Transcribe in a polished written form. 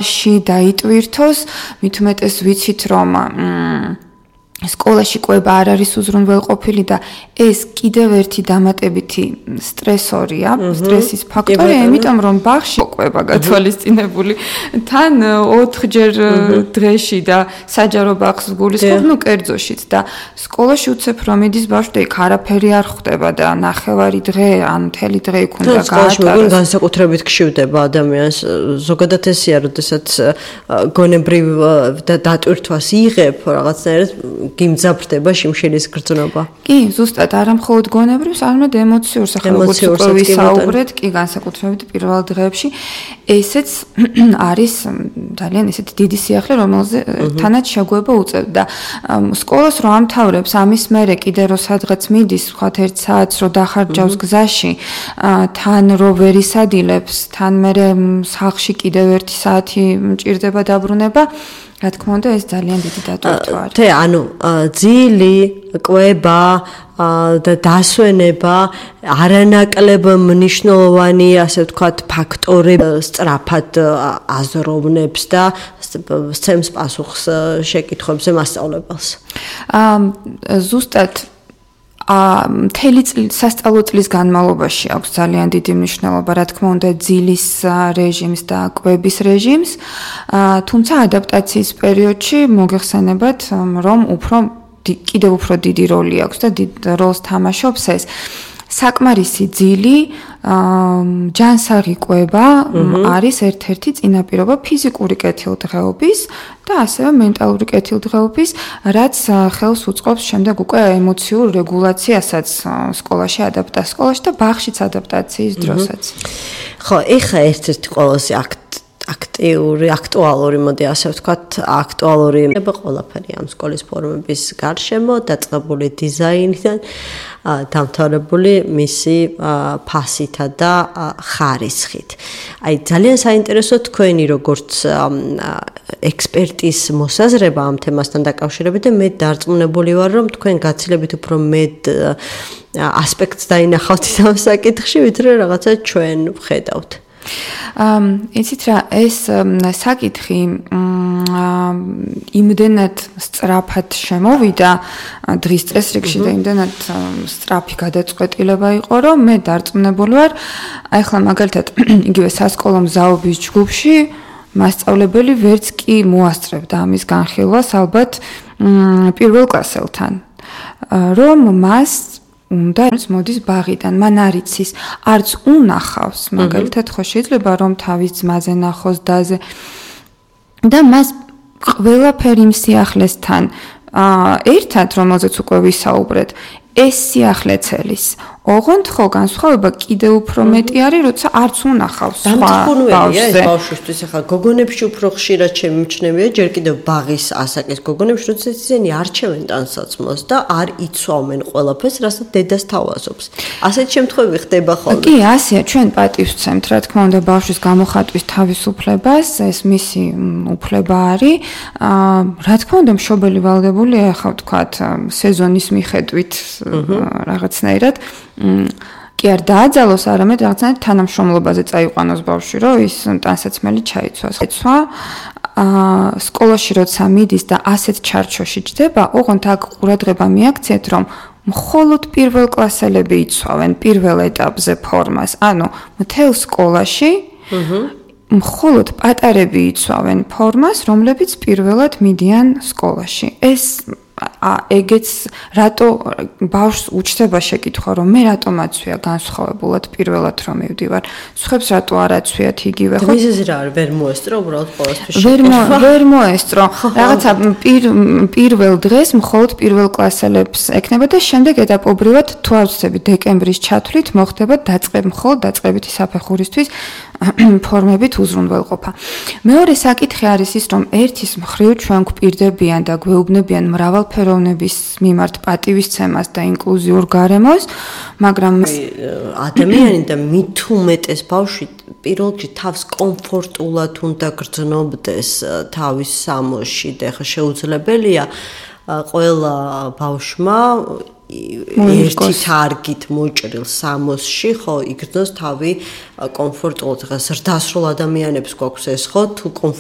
დაიტვირთოს, მით უმეტეს ვიცით რომ სკოლაში კვება არ არის უზრუნველყოფილი და ეს კიდევ ერთი დამატებითი სტრესორია, სტრესის ფაქტორი, იმიტომ რომ ბაღში კვება გათვალისწინებული თან 4ჯერ დღეში და საჯარო ბაღს გულისხმობ, კერძოშიც და სკოლაში უცებ რომ მიდის ბავშვი და იქ არაფერი არ ხვდება და ნახევარი დღე ან მთელი დღე იქ უნდა გაატაროს. სკოლაში განსაკუთრებით გშივდება ადამიანს, ზოგადად ესეა, როდესაც გონებრივ დატვირთვას იღებ რაღაცნაირად გიმძაფრდება შიმშილის გრძნობა. კი, ზუსტად არა მხოლოდ გონებრივს, არამედ ემოციურს, ახლა როგორც უკვე ვისაუბრეთ, კი, განსაკუთრებით პირველ დღეებში, ესეც არის ძალიან ესეთი დიდი სიახლე, რომელზეთანაც შეგუება უწევთ და სკოლას რო ამთავრებს, ამის მერე კიდე რო სადღაც მიდის, ვთქვათ 1 საათს რო დახარჯავს გზაში, თან რო ვერ ისადილებს, თან მერე სახლში კიდევ 1 საათი მჭირდება დაბრუნება, რა თქმა უნდა, ეს ძალიან დიდი დატვირთვა არის. ანუ ძილი, კვება და დასვენება არანაკლებ მნიშვნელოვანი, ასე ვთქვათ, ფაქტორები სწრაფად აზროვნებს და სცემს პასუხს შეკითხვებზე მასწავლებელს. ზუსტად მთელი სასწავლო წლის განმავლობაში აქვს ძალიან დიდი მნიშვნელობა, რა თქმა უნდა, ძილის რეჟიმს და კვების რეჟიმს, თუმცა ადაპტაციის პერიოდში მოგეხსენებათ, რომ კიდევ უფრო დიდი როლი აქვს და დიდ როლს თამაშობს ეს. საკმარისი ძილი, ჯანსაღი კვება არის ერთ-ერთი წინაპირობა ფიზიკური კეთილდღეობის და ასევე მენტალური კეთილდღეობის, რაც ხელს უწყობს შემდეგ უკვე ემოციურ რეგულაციასაც სკოლაში და ბაღშიც ადაპტაციის დროსაც. ხო, ეხა ერთ-ერთი ყველაზე აქტუალური, მოდი ასე ვთქვათ, აქტუალური ყველაფერი ამ სკოლის ფორმების გარშემო, დაწყებული დიზაინიდან, დამთავრებული მისი ფასითა და ხარისხით. აი, ძალიან საინტერესო თქვენი როგორც ექსპერტის მოსაზრება ამ თემასთან დაკავშირებით და მე დარწმუნებული ვარ, რომ თქვენ გაცილებით უფრო მეტ ასპექტს დაინახავთ ამ საკითხში, ვიდრე რაღაცა ჩვენ ვხედავთ. იცით რა, ეს საკითხი იმდენად სწრაფად შემოვიდა დღის წესრიგში და იმდენად სწრაფი გადაწყვეტილება იყო, რომ მე დარწმუნებული ვარ, ახლა მაგალითად იგივე სასკოლო მზაობის ჯგუფში მასწავლებელი ვერც კი მოასწრებდა ამის განხილვას ალბათ პირველ კლასელთან, რომ მას უნდა მოდის ბაღიდან, მან არ იცის, არც უნახავს, მაგალითად ხო შეიძლება რომ თავის ძმაზე ნახოს დაზე და მას ყველაფერი იმ სიახლესთან ერთად, რომელზეც უკვე ვისაუბრეთ, ეს სიახლე ცელის. ოღონდ ხო განსხვავება კიდევ უფრო მეტი არის, როცა არც უნახავს სხვა ბავშვზე. ბავშვისთვის ახლა გოგონებში უფრო ხშირად შემიმჩნევია, ჯერ კიდევ ბაღის ასაკის გოგონებში, როცა ისინი არჩევენ ტანსაცმელს და არ იცვამენ ყველაფერს, რასაც დედას თავაზობს. ასეთი შემთხვევები ხდება ხოლმე. კი, ასეა, ჩვენ პატივს ვცემთ, რა თქმა უნდა, ბავშვის გამოხატვის თავისუფლებას, ეს მისი უფლება არის. რა თქმა უნდა, მშობელი ვალდებულია, ახლა ვთქვათ, სეზონის მიხედვით რაღაცნაირად კი არ დააძალოს, არამედ რაღაცნაირად თანამშრომლობაზე წაიყვანოს ბავშვი, რომ ის ტანსაცმელი ჩაიცვას. სკოლაში როცა მიდის და ასეთ ჩარჩოში ჯდება, ოღონდ აქ ყურადღება მიაქციეთ, რომ მხოლოდ პირველ კლასელები იცვავენ პირველ ეტაპზე ფორმას. ანუ მთელ სკოლაში მხოლოდ პატარები იცვავენ ფორმას, რომლებიც პირველად მიდიან სკოლაში. ეს ეგეც რატო ბავშვს უჩნდება შეკითხვა, რომ მე რატომ აცვია განსხვავებულად პირველად რომ მივდივარ, სხვებს რატო არ აცვიათ იგივე, ხო? მიზეზი რა არის? ვერ მოესწრო უბრალოდ ყოველთვის. ვერ მოესწრო. რაღაცა პირველ დღეს მხოლოდ პირველ კლასელებს ექნება და შემდეგ ეტაპობრივად თუ არ ვცდები დეკემბრის ჩათვლით მოხდება მხოლოდ დაწყებითი საფეხურისთვის ფორმებით უზრუნველყოფა. მეორე საკითხი არის ის, რომ ერთის მხრივ ჩვენ გვპირდებიან და გვეუბნებიან მრავალფეროვნების მიმართ პატივისცემას და ინკლუზიურ გარემოს, მაგრამ ადამიანი და მით უმეტეს ბავშვი პირველ რიგში თავს კომფორტულად უნდა გრძნობდეს თავის სამოსში და ხა შეუძლებელია ყველა ბავშვმა ერთი თარგით მოჭრილ სამოსში ხო იგრძნოს თავი კომფორტულად. ხა ზრდასრულ ადამიანებს გვაქვს ეს ხო თუ